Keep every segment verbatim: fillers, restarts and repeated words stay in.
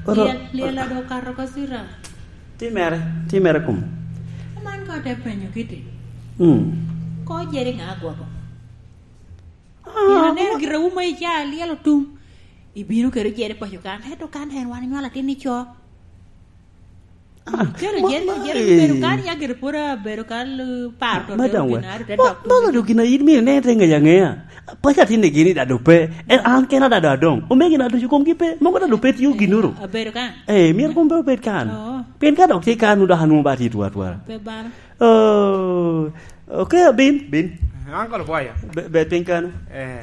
Oro- Lyel, lyel ado kato ka sira. Timere, timere kum. Man ka te penyo kiti. Mm. Ko jeri ŋa agwoko? Ah, Pien aneno ma- gira wu ma ica lyel otum. Ibino kede jeri paco kan, ento kan en wan inywalo atin ico. Ah, Kelo ma- jeri, ma- jeri eh. Bedo kan ya gire pwod abedo kan, eh, par to Madam te we. Gin ado te Ma- dok. Mano do gin a in mine ne te ŋeya ŋeya. Paco atin ni gini dado pe. En an kena dado adong. Omegi na ducu komgi pe. Mogo dado pe tiyo ginuru. Abedo kan. Eh, myero kom pe obed kan. Oo. Pien ka dok tye kan, dok anwoŋo ba tye twatwara. Pe balo. Oh, okay, bin, bin. Uncle Bwaya. Be, be piny kano. Eh.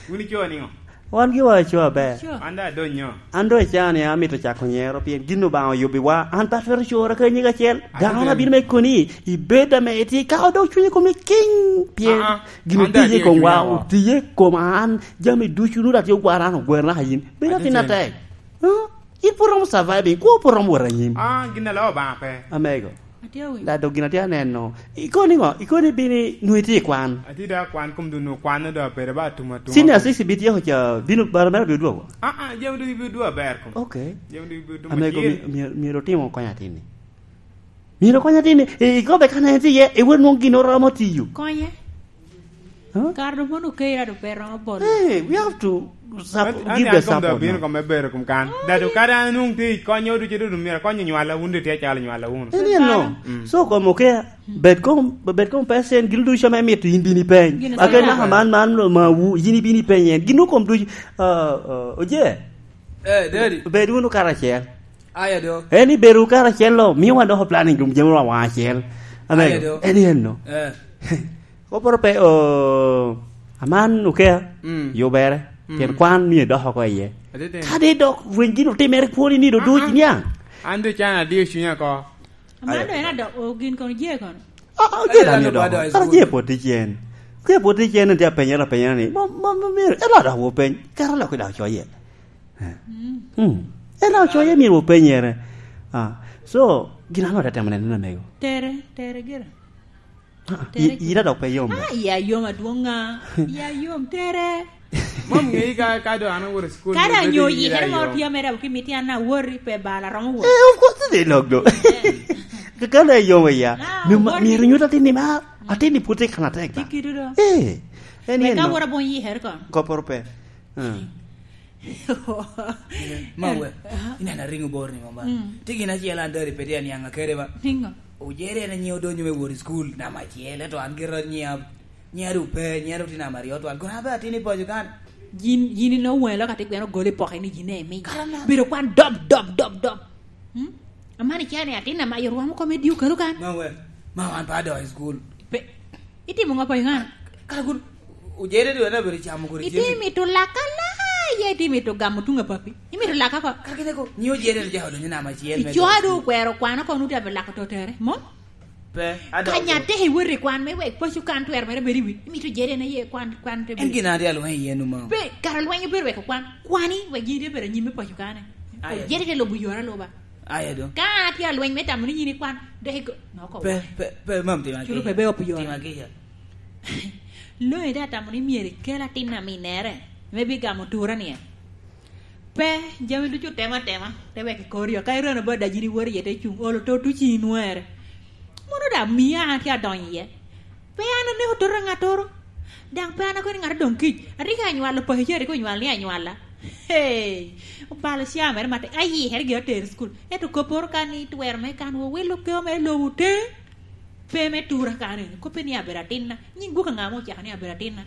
Wun ico niŋo? Wan giwa ico aber. Ico. An da adonyo. An doŋ icaa ni amito cako nyero, pien gin Obaŋa oyubbiwa. An pe atwero cora ka nyig acel. Ate Dano teni. Abino me koni, ibed ame iti, ka odok cunye komi king, pien Ah, ah. Gin An da otiye i atye komwa, cunye oko. Otiye i koma an, jami ducu nut atye ogwara an ogwero naka yin. Bedo Ate atin teni. Atek. Huh? In pwod romo surviving, kwo pwod romo wot anyim. Ah, gin alo Obaŋa pe. Amego. Atye awinyo. Da dok gin atye aneno. Ikoni ŋo? Ikoni bini nwe itye i kwan. Atye da kwan kom dun okwan do pere ba atuma atuma. Senior six bi tyeko ca bino bara mere bi odwogo. Ah, ah, jam do bi odwogo aber kom. Okay. Jam do bi odwogo. Amego myero, myero otimo kony atini. Myero kony atini. E, ikobe kan en tye, e wer nwong gin oromo tiyo. Konye. Huh? Kare do mono okeira do pe romo bolo. Hey, we have to sup-, An, an give the an kom da support, bino no? Kom me bero kom kan. Dado kare an nung ti konyo ducu dudu myero konyo nywala wun di tye calo nywala wun. Eni en no. Mm. So kom oke, bed kom, bed kom pesen gin ducu ame mito in bini peny. Gin Ake sasa. Naka man, man lo ma wu, yin ibini peny en. Gin kom ducu, uh, uh, oje. Eh, Daddy. Bed wunu karacel. Aya do. Eni bedo karacel lo, miyo wan doko planning dum jami wa wan acel. Amego. Aya do. Eni en no. Eh. Koporo pe, o, aman okea, Mm. Yubere, Mm. Pien kwan mio idoko oko iye. Atete. Kadi dok rweny gin otimere kwoni ni do Ah, duc ah. Niaŋ. An do can adio cunya ko. Aman do en adok, o, gin kono je kono. Ah, ah, Ate je dano dano mio dok. Bado Kara school. Je pwod tye cen. Je pwod tye cen, en tye apenyere apenyere ni, ma, ma, ma, myero, ela dok wopeny. Kara lok i dok coye. Eh. Mm. Mm. Ela coye myero wopenyere. Ah, so, gin ano te temo neno na mego? Tere, tere gira. Ah, Tere i-, ira dok pe yom. Ah, iya yom adwoŋ ŋa. Iya yom tere. Mom ŋeyi ka, ka do an aworo i school, Kada bedo nyo ira yikere mo yom. Tye mere abuki miti an awori pe bala romo wot. Eh, of course, they log do. Eh. Kakana yom iya. Ah, mi ma, wori. Myero nyuta tini ma, atini puti kana tek da. Tiki do. Eh. Eni Meka eno. Wora bon yikere kon. Koporo pe. Ah. Ma we, ineno aringo bor ni mamba. Mm. Ti gin acel an dori pe tye aniaŋ akede ba. Pingo? Ojere en anyieo donyo me wot i school, nam acel, ento an gira nyia, nyia du pe, nyia du ti nam aryo twal. Kono abe atin i paco kan. Yin, yin ino welo ka ti gweno goli poke ni yin emi. Kara na. Bedo kwan dob, dob, dob, dob. Hmm? Amani kia ni atin amayo rwamo kome dio kalo kan. Ma we, ma wan pa do i school. Pe, itimo ŋo pa iŋana? Kara kun, ojere dwe na bedo camo kodi Iti jami. Mito laka la, ye iti mito gamo tuŋ a papi. Imito laka ko. Kara kine ko, nyi ojere ni jao donyo nama ciel me Icoa do. Do kwero kwano kono uti abe lako to tere. Mo? Pe, ado. Kanya te iwori kwan me wek pacu kan twer mere bedi wi. Imito jere na ye kwan, kwan te En bedi. Gina adi alweny yen uma. Pe, kara lweny obedo wek kwan. Kwani, wek jere bedo nyime pacu kane. Aye. Jere te lobo yora loba. Aye do. Ka an atye alweny me tamo ni yin ikwan, dok igo-, noko Pe, wa. Pe, pe, mam tima Culu ki. Pe be opiyo. Tima ki ya. Lo ede atamo ni myero ikel atin aminere, me bigamo tura ni en. Pe, jami ducu otemo atema, te wek ikor yo. Ka irano ba dajini wori iye te cung, olo to tuci inwere. Mono da mia an atye adonyo iye. Pe an aneko toto ŋattoro. Daŋ pe an akobo ni ŋat odoŋ kic. Atika anywalo paco ca rik onywal ni anywala. Hey! Obalo ca mere matek. Ayikere gire atere i cukul. Ento kopporo kan ni twero me kan wo wilo keo mere lobo te. Pe me tura kan eni. Koppe ni abedo atinna. Nyiŋ gwok aŋa ma ocako ni abedo atinna?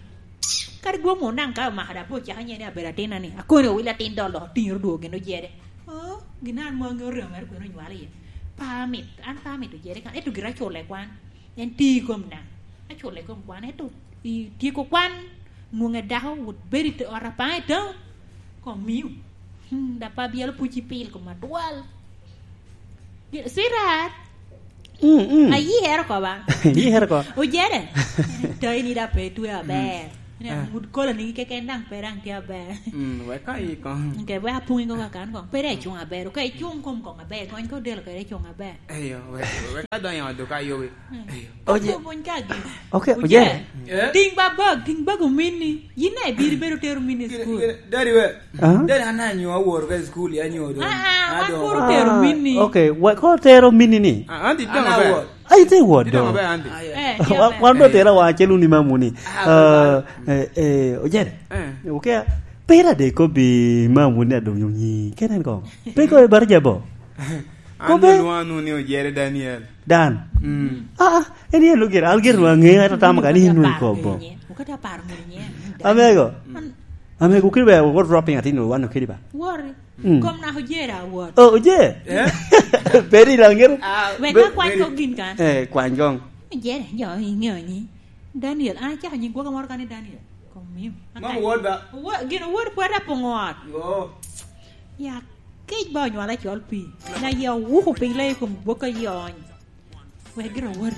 Kadi gwok munu daŋ ka omaka daŋ pe ocako nye ni abedo atinna ni. Akoni owil atin dolo otiŋere odwogo gin ojede. Oh, gin an mo aŋeo remo mere kwene onywalo iye. Pe amito, an pe amito jere kan. Ento gire acule kwan. En tye i kom daŋ. Acule i kom kwan, ento i tyeko kwan, nwoŋe dako wot bedo i te-, ot apaŋ i town, kong miu. Hmm, da pa byelo puc i pil kom atwal. Sweetheart. Mm, mm. Ayikere oko ba? Yikere oko. Ojere. Tayi ni da pe twe aber. Mm. Ina, eh, wud kola nigi keken daŋ pe daŋ tye aber. Mm, wek ka i kong. Ke wek apung i kong kakan kong. Pe daŋ icung aber. Ka icung kom kong aber, kony ka odelo kede icung aber. Eyo, wek, wek ka donyo ot ka yobi. Mm. Eyo. Oje. Oje, buny ka gi. Okay, oje. Oje. Eh? Ting ba bag, ting bag omini. Yin na ibiro ibedo tero mini i school. Gire, gire, daddy we. Ah? Daddy, an anyo awor ka i school, ya nyo do. Ah, ah, wan adong. Kuru tero mini. Okay, wa-, ko tero mini ni? Ah, an ti dong aber. Ai, te wot do. Dong aber, anti. Eh, wan, wan do tera wa acel wun i mamu ni. Ah, eh, eh, ojere. Eh. Okay. Pera de ko bi mamu ni adong nyi. Kenen ko. Pe ko e bar jabo. An kobe. Lwanu ni ojere Daniel. Dan. Mm. Ah, ah, en yen lugir, algir wa nge, ata tam ka ni inu ko bo. Okata par mo nye. Amego. Mm. Amego, kiri ba, what dropping atin, wano kiri ba. Worry. Mm. Kom naka ojer awot. Oh, ojer? Eh? Peri langir. Ah, wek be-, akwany kong gin kan. Eh, kwany kong. Ojer, jo, ingeyo ni. Daniel, an acako nying gwoka moro kan ni Daniel. Kom miyo. Mom wod ba? Wo-, gin wod pwod apongo ot. Yo. Ya, kic ba onywala col pi. Na ya wuko piny lai kom gwoka yony. Wek gira wori.